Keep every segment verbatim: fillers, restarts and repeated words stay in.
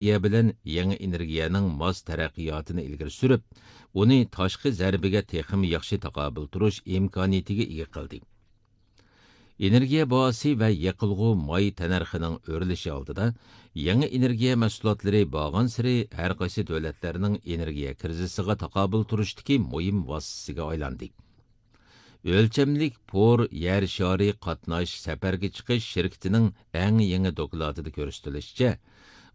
ئېنېرگىيە بىلەن يېڭى ئېنېرگىيەنىڭ ماس تەرەققىياتىنى ئىلگىرى سۈرۈپ، ئۇنى تاشقى زەربىگە تېخىمۇ ياخشى تاقابىل تۇرۇش ئىمكانىيىتىگە ئىگە قىلدى. ئېنېرگىيە باھاسى ۋە يېقىلغۇ ماي تەننەرخىنىڭ ئۆرلىشى ئالدىدا، يېڭى ئېنېرگىيە مەھسۇلاتلىرى بارغانسېرى ھەر قايسى دۆلەتلەرنىڭ ئېنېرگىيە كىرىزىسىغا تاقابىل تۇرۇشتىكى مۇھىم ۋاسىتىسىگە ئايلاندى. ئۆلچەملىك پور يەر شارى قاتناش سەپەرگە چىقىش شىركىتىنىڭ ئەڭ يېڭى دوكلاتىدا كۆرسىتىلىشىچە،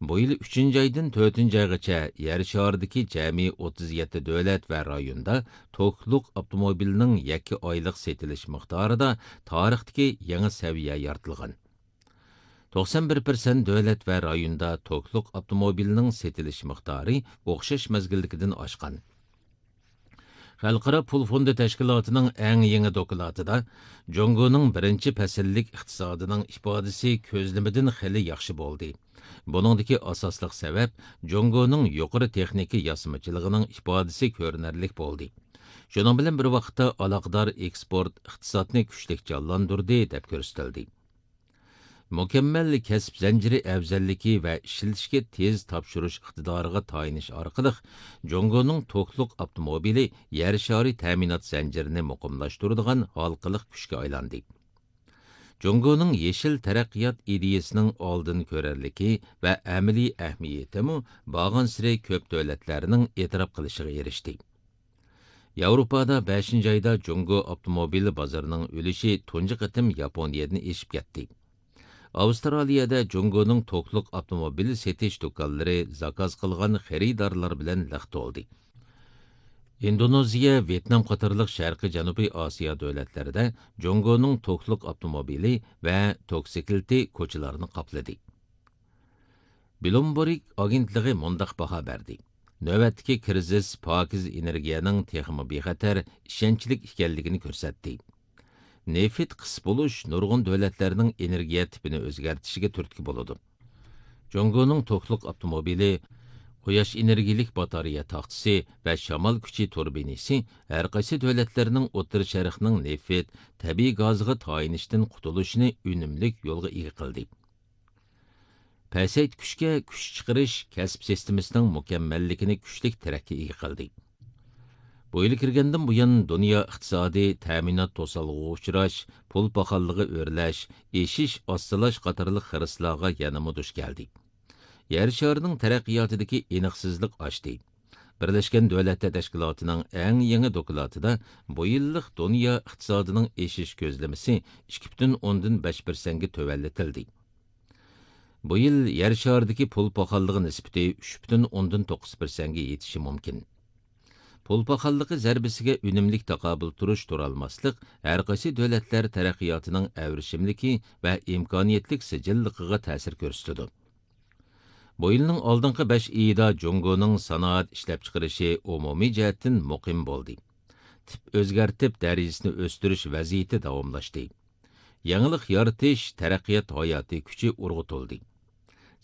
بۇ يىل ئۈچىنچى ئايدىن تۆتىنچى ئايغىچە يەر شارىدىكى جەمئىي ئوتتۇز يەتتە دۆلەت ۋە رايوندا توكلۇق ئاپتوموبىلنىڭ يەككە ئايلىق سېتىلىش مىقدارىدا تارىختىكى يېڭى سەۋىيە يارىتىلغان. توقسان بىر پىرسەنت دۆلەت ۋە رايوندا توكلۇق ئاپتوموبىلنىڭ سېتىلىش مىقدارى ئوخشاش مەزگىلدىكىدىن ئاشقان. خەلقئارا پۇل فوندى تەشكىلاتىنىڭ ئەڭ يېڭى دوكلاتىدا، جۇڭگونىڭ بىرىنچى پەسىللىك ئىقتىسادىنىڭ ئىپادىسى كۆزلىمىدىن خېلى ياخشى بولدى. بۇنىڭدىكى ئاساسلىق سەۋەب جۇڭگونىڭ يۇقىرى تېخنىكا ياسىمىچىلىقىنىڭ ئىپادىسى كۆرۈنەرلىك بولدى. شۇنىڭ بىلەن بىر ۋاقىتتا، ئالاقىدار ئېكسپورت ئىقتىسادنى كۈچلۈك جانلاندۇردى، دەپ كۆرسىتىلدى. مۇكەممەل كەسىپ زەنجىرى ئەۋزەللىكى ۋە ئىشلىتىشكە تېز تاپشۇرۇش ئىقتىدارىغا تايىنىش ئارقىلىق، جۇڭگونىڭ توكلۇق ئاپتوموبىلى يەر شارى تەمىنات زەنجىرىنى مۇقىملاشتۇرىدىغان ھالقىلىق كۈچكە ئايلاندى. جۇڭگونىڭ يېشىل تەرەققىيات ئىدىيىسىنىڭ ئالدىن كۆرەرلىكى ۋە ئەمەلىي ئەھمىيىتىمۇ بارغانسېرى كۆپ دۆلەتلەرنىڭ ئېتىراپ قىلىشىغا ئېرىشتى. ياۋروپادا بەشىنچى ئايدا جۇڭگو ئاپتوموبىل بازىرىنىڭ ئۈلۈشى تۇنجى قېتىم ياپونىيەدىن ئېشىپ كەتتى. ئاۋسترالىيەدە جۇڭگونىڭ توكلۇق ئاپتوموبىل سېتىش دۇكانلىرى زاكاز قىلغان خېرىدارلار بىلەن لىق تولدى. ئىندونېزىيە، ۋيېتنام قاتارلىق شەرقىي جەنۇبىي ئاسىيا دۆلەتلىرىدە جۇڭگونىڭ توكلۇق ئاپتوموبىلى ۋە توكسىكلىتى كوچىلارنى قاپلىدى. بلومبېرگ ئاگېنتلىقى مۇنداق باھا بەردى: نۆۋەتتىكى كىرىزىس پاكىز ئېنېرگىيەنىڭ تېخىمۇ بىخەتەر، ئىشەنچلىك ئىكەنلىكىنى كۆرسەتتى. نېفىت قىس بولۇش نۇرغۇن دۆلەتلەرنىڭ ئېنېرگىيە تىپىنى ئۆزگەرتىشىگە تۈرتكە بولىدۇ. جۇڭگونىڭ توكلۇق ئاپتوموبىلى، قۇياش ئېنېرگىيىلىك باتارېيە تاختىسى ۋە شامال كۈچى تۇربىنىسى ھەر قايسى دۆلەتلەرنىڭ ئوتتۇرا شەرقنىڭ نېفىت، تەبىئىي گازىغا تايىنىشتىن قۇتۇلۇشىنى ئۈنۈملۈك يولغا ئىگە قىلدى. پەسەيتكۈچكە كۈچ چىقىرىش كەسىپ سىستېمىسىنىڭ مۇكەممەللىكىنى كۈچلۈك تىرەككە ئىگە قىلدى. بۇ يىل كىرگەندىن بۇيان، دۇنيا ئىقتىسادى تەمىنات توسالغۇغا ئۇچراش، پۇل پاخاللىقى ئۆرلەش، ئېشىش ئاستىلاش قاتارلىق خىرىسلارغا يەنىمۇ دۇچ كەلدى. يەر شارىنىڭ تەرەققىياتىدىكى ئېنىقسىزلىق ئاشتى. بىرلەشكەن دۆلەتلەر تەشكىلاتىنىڭ ئەڭ يېڭى دوكلاتىدا بۇ يىللىق دۇنيا ئىقتىسادىنىڭ ئېشىش كۆزلىمىسى ئىككى پۈتۈن ئوندىن بەش پىرسەنتكە تۆۋەنلىتىلدى. بۇ يىل يەر شارىدىكى پۇل پاخاللىقى نىسبىتى ئۈچ پۈتۈن ئوندىن توققۇز پىرسەنتكە يېتىشى مۇمكىن. پۇل پاخاللىقى زەربىسىگە ئۈنۈملۈك تاقابىل تۇرۇش تۇرالماسلىق ھەر قايسى دۆلەتلەر تەرەققىياتىنىڭ ئەۋرىشىملىكى ۋە ئىمكانىيەتلىك سىجىللىقىغا تەسىر كۆرسىتىدۇ. بۇ يىلنىڭ ئالدىنقى بەش ئېيىدا جۇڭگونىڭ سانائەت ئىشلەپچىقىرىشى ئومۇمىي جەھەتتىن مۇقىم بولدى. تىپ ئۆزگەرتىپ دەرىجىسىنى ئۆستۈرۈش ۋەزىيىتى داۋاملاشتى. يېڭىلىق يارىتىش، تەرەققىيات ھاياتىي كۈچى ئۇرغۇتۇلدى.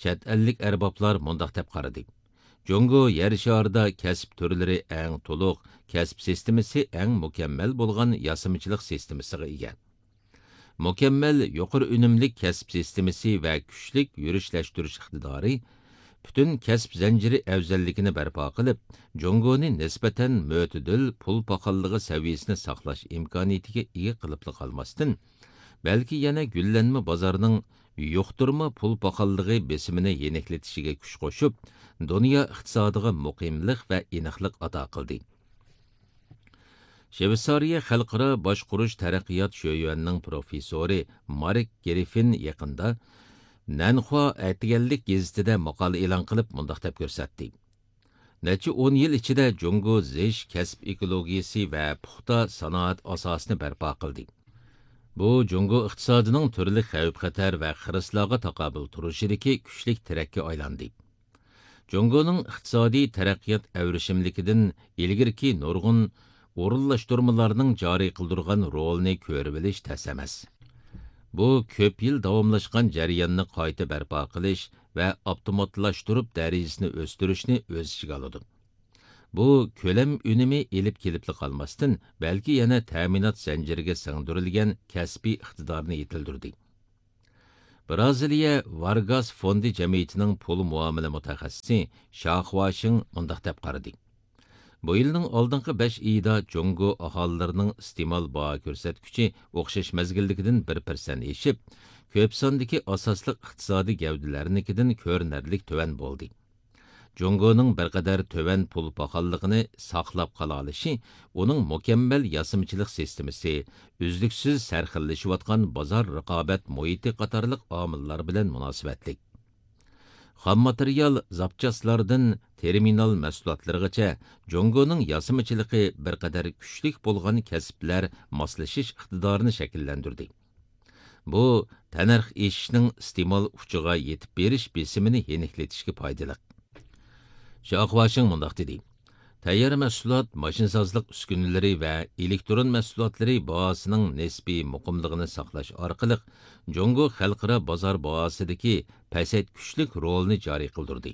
چەت ئەللىك ئەربابلار مۇنداق دەپ قارىدى: جۇڭگو يەر شارىدا كەسىپ تۈرلىرى ئەڭ تولۇق، كەسىپ سىستېمىسى ئەڭ مۇكەممەل بولغان ياسىمىچىلىق سىستېمىسىغا ئىگە. مۇكەممەل يۇقىرى ئۈنۈملۈك كەسىپ سىستېمىسى ۋە كۈچلۈك يۈرۈشلەشتۈرۈش ئىقتىدارى پۈتۈن كەسىپ زەنجىرى ئەۋزەللىكىنى بەرپا قىلىپ، جۇڭگونى نىسبەتەن مۆتىدىل پۇل پاخاللىقى سەۋىيەسىنى ساقلاش ئىمكانىيىتىگە ئىگە قىلىپلا قالماستىن، بەلكى يەنە گۈللەنمە بازارنىڭ يۇقتۇرما پۇل پاخاللىقى بېسىمىنى يېنىكلىتىشىگە كۈچ قوشۇپ، دۇنيا ئىقتىسادىغا مۇقىملىق ۋە ئېنىقلىق ئاتا قىلدى. شۋېتسارىيە خەلقئارا باشقۇرۇش تەرەققىيات شۆيۈەنىنىڭ پروفېسسورى مارك گرىففىن يېقىندا نەنخۇا ئەتىگەنلىك گېزىتىدە ماقالە ئېلان قىلىپ، مۇنداق دەپ كۆرسەتتى: نەچچە ئون يىل ئىچىدە جۇڭگو زىچ كەسىپ ئېكولوگىيىسى ۋە پۇختا سانائەت ئاساسىنى بەرپا قىلدى. بۇ جۇڭگو ئىقتىسادىنىڭ تۈرلۈك خەۋپ-خەتەر ۋە خىرىسلارغا تاقابىل تۇرۇشىدىكى كۈچلۈك تىرەككە ئايلاندى. جۇڭگونىڭ ئىقتىسادىي تەرەققىيات ئەۋرىشىملىكىدىن ئىلگىرىكى نۇرغۇن ئورۇنلاشتۇرمىلارنىڭ جارى قىلدۇرغان رولىنى كۆرۈۋېلىش تەس ئەمەس. بۇ كۆپ يىل داۋاملاشقان جەرياننى قايتا بەرپا قىلىش ۋە ئاپتوماتلاشتۇرۇپ دەرىجىسىنى ئۆستۈرۈشنى ئۆز ئىچىگە ئالىدۇ. بۇ كۆلەم ئۈنۈمى ئېلىپ كېلىپلا قالماستىن، بەلكى يەنە تەمىنات زەنجىرىگە سىڭدۈرۈلگەن كەسپىي ئىقتىدارنى يېتىلدۈردى. برازىلىيە ۋارگاس فوندى جەمئىيىتىنىڭ پۇل مۇئامىلە مۇتەخەسسىسى شاخۇاشىڭ مۇنداق دەپ قارىدى: بۇ يىلنىڭ ئالدىنقى بەش ئېيىدا جۇڭگو ئاھالىلىرىنىڭ ئىستېمال باھا كۆرسەتكۈچى ئوخشاش مەزگىلدىكىدىن بىر پىرسەنت ئېشىپ، كۆپ ساندىكى ئاساسلىق ئىقتىسادىي گەۋدىلەرنىڭكىدىن كۆرۈنەرلىك تۆۋەن بولدى. جۇڭگونىڭ بىر قەدەر تۆۋەن پۇل پاخاللىقىنى ساقلاپ قالالىشى ئۇنىڭ مۇكەممەل ياسىمىچىلىق سىستېمىسى، ئۈزلۈكسىز سەرخىللىشىۋاتقان بازار رىقابەت مۇھىتى قاتارلىق ئامىللار بىلەن مۇناسىۋەتلىك. خام ماتېرىيال، زاپچاسلاردىن تېرمىنال مەھسۇلاتلىرىغىچە، جۇڭگونىڭ ياسىمىچىلىقى بىر قەدەر كۈچلۈك بولغان كەسىپلەر ماسلىشىش ئىقتىدارىنى شەكىللەندۈردى. بۇ تەننەرخ ئېشىشنىڭ ئىستېمال ئۇچىغا يېتىپ بېرىش بېسىمىنى يېنىكلىتىشكە پايدىلىق. شاخۇاشىڭ مۇنداق دېدى: تەييار مەھسۇلات، ماشىنىسازلىق ئۈسكۈنىلىرى ۋە ئېلېكترون مەھسۇلاتلىرى باھاسىنىڭ نىسپىي مۇقىملىقىنى ساقلاش ئارقىلىق، جۇڭگو خەلقئارا بازار باھاسىدىكى پەسەيتكۈچلۈك رولىنى جارى قىلدۇردى.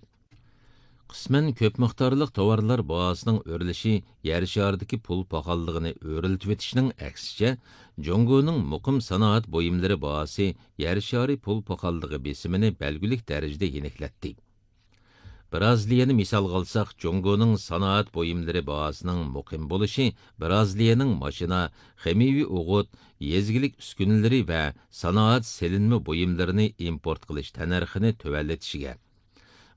قىسمەن كۆپ مىقدارلىق تاۋارلار باھاسىنىڭ ئۆرلىشى يەر شارىدىكى پۇل پاخاللىقىنى ئۆرلىتىۋېتىشنىڭ ئەكسىچە، جۇڭگونىڭ مۇقىم سانائەت بۇيۇملىرى باھاسى يەر شارى پۇل پاخاللىقى بېسىمىنى بەلگىلىك دەرىجىدە يېنىكلەتتى. برازىلىيەنى مىسالغا ئالساق، جۇڭگونىڭ سانائەت بۇيۇملىرى باھاسىنىڭ مۇقىم بولۇشى برازىلىيەنىڭ ماشىنا، خىمىيەۋى ئوغۇت، يېزا ئىگىلىك ئۈسكۈنىلىرى ۋە سانائەت سېلىنما بۇيۇملىرىنى ئىمپورت قىلىش تەننەرخىنى تۆۋەنلىتىشىگە،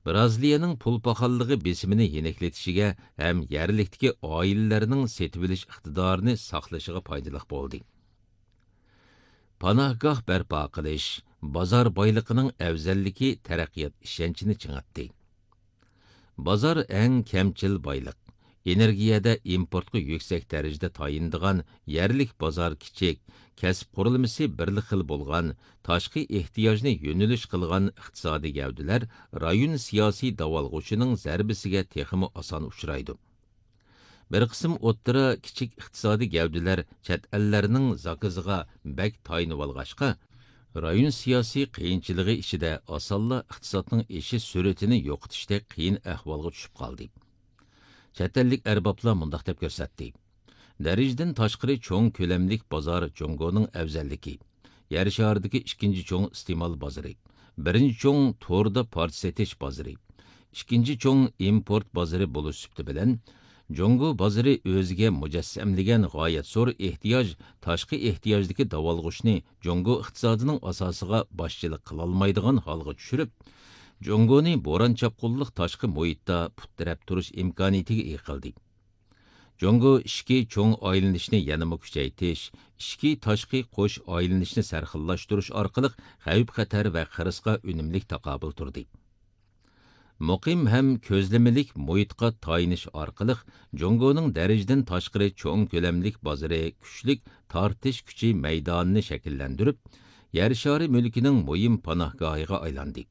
برازىلىيەنىڭ پۇل پاخاللىقى بېسىمىنى يېنىكلىتىشىگە ھەم يەرلىكتىكى ئائىلىلەرنىڭ سېتىۋېلىش ئىقتىدارىنى ساقلىشىغا پايدىلىق بولدى. پاناھگاھ بەرپا قىلىش، بازار بايلىقىنىڭ ئەۋزەللىكى تەرەققىيات ئىشەنچىنى چىڭىتتى. بازار ئەڭ كەمچىل بايلىق. ئېنېرگىيەدە ئىمپورتقا يۈكسەك دەرىجىدە تايىنىدىغان يەرلىك بازار كىچىك، كەسىپ قۇرۇلمىسى بىرلا خىل بولغان، تاشقى ئېھتىياجنى يۆنىلىش قىلغان ئىقتىسادىي گەۋدىلەر رايون سىياسىي داۋالغۇشىنىڭ زەربىسىگە تېخىمۇ ئاسان ئۇچرايدۇ. بىر قىسىم ئوتتۇرا، كىچىك ئىقتىسادىي گەۋدىلەر چەت ئەللەرنىڭ زاكىزىغا بەك تايىنىۋالغاچقا، رايون سىياسىي قىيىنچىلىقى ئىچىدە ئاسانلا ئىقتىسادنىڭ ئېشىش سۈرئىتىنى يوقىتىشتەك قىيىن ئەھۋالغا چۈشۈپ قالدى. چەت ئەللىك ئەربابلار مۇنداق دەپ كۆرسەتتى: دەرىجىدىن تاشقىرى چوڭ كۆلەملىك بازار جۇڭگونىڭ ئەۋزەللىكى، يەر شارىدىكى ئىككىنچى چوڭ ئىستېمال بازىرى، بىرىنچى چوڭ توردا پارچە سېتىش بازىرى، ئىككىنچى چوڭ ئىمپورت بازىرى بولۇش سۈپىتى بىلەن، جۇڭگو بازىرى ئۆزىگە مۇجەسسەملىگەن غايەت زور ئېھتىياج، تاشقى ئېھتىياجدىكى داۋالغۇشنى جۇڭگو ئىقتىسادىنىڭ ئاساسىغا باشچىلىق قىلالمايدىغان ھالغا چۈشۈرۈپ، جۇڭگونى بوران-چاپقۇنلۇق تاشقى مۇھىتتا پۇت تىرەپ تۇرۇش ئىمكانىيىتىگە ئىگە قىلدى. جۇڭگو ئىچكى چوڭ ئايلىنىشنى يەنىمۇ كۈچەيتىش، ئىچكى تاشقى قوش ئايلىنىشنى سەرخىللاشتۇرۇش ئارقىلىق خەۋپ-خەتەر ۋە خىرىسقا ئۈنۈملۈك تاقابىل تۇردى. مۇقىم ھەم كۆزلىمىلىك مۇھىتقا تايىنىش ئارقىلىق، جۇڭگونىڭ دەرىجىدىن تاشقىرى چوڭ كۆلەملىك بازىرى كۈچلۈك تارتىش كۈچى مەيدانىنى شەكىللەندۈرۈپ، يەر شارى مۈلكىنىڭ مۇھىم پاناھگاھىغا ئايلاندى.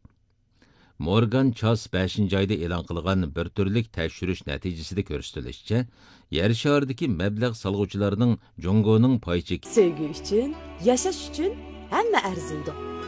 مورگان چاس بەشىنچى ئايدا ئېلان قىلغان بىر تۈرلۈك تەكشۈرۈش نەتىجىسىدە كۆرسىتىلىشىچە، يەر شارىدىكى مەبلەغ سالغۇچىلارنىڭ جۇڭگونىڭ پاي چېكى سۆيگۈ ئۈچۈن، ياشاش ئۈچۈن ھەممە ئەرزىيدۇ.